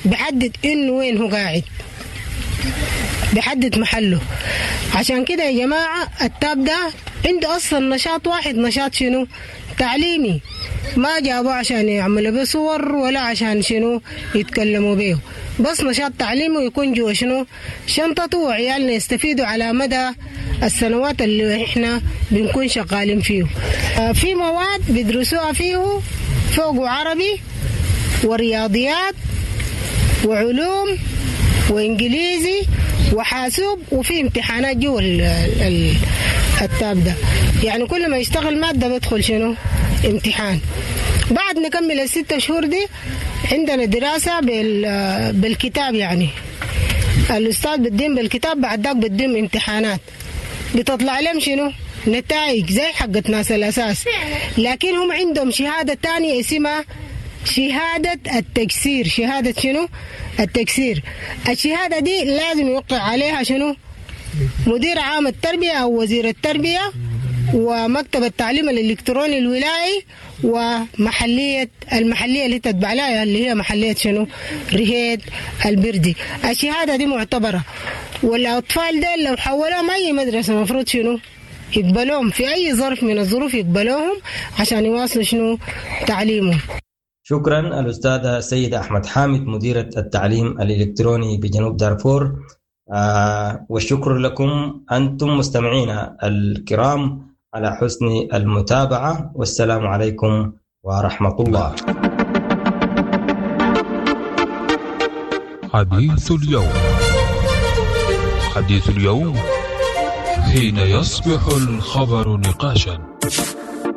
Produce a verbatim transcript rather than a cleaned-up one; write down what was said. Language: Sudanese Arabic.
بيحدد إنه وين هو قاعد، بيحدد محله. عشان كده يا جماعة التاب ده عنده أصلا نشاط واحد، نشاط شنو؟ تعليمي. ما جابوه عشان يعملوا به صور ولا عشان شنو يتكلموا به، بس نشاط تعليمي ويكون جوا شنو شنطته، وعيالنا يستفيدوا على مدى السنوات اللي احنا بنكون شغالين فيه. في مواد بيدرسوها فيه فوق عربي ورياضيات وعلوم وإنجليزي وحاسوب، وفي امتحانات جوا التاب ده. يعني كل ما يشتغل مادة بدخل شنو امتحان. بعد نكمل الستة شهور دي عندنا دراسة بالكتاب، يعني الأستاذ بدين بالكتاب، بعد ذاك بدين امتحانات بتطلع لهم شنو نتائج زي حقت ناس الأساس، لكن هم عندهم شهادة تانية اسمها شهادة التكسير. شهادة شنو التكسير؟ الشهادة دي لازم يوقع عليها شنو مدير عام التربية أو وزير التربية ومكتب التعليم الإلكتروني الولائي ومحلية المحلية اللي تتبع لها اللي هي محلية شنو رهيد البردي. الشهادة دي معتبرة، والأطفال دي لو حولوهم أي مدرسة مفروض شنو يقبلوهم في أي ظرف من الظروف، يقبلوهم عشان يواصلوا شنو تعليمهم. شكرا الأستاذة سيدة أحمد حامد مديرة التعليم الإلكتروني بجنوب دارفور، آه والشكر لكم أنتم مستمعينا الكرام على حسن المتابعة، والسلام عليكم ورحمة الله. حديث اليوم، حديث اليوم حين يصبح الخبر نقاشا.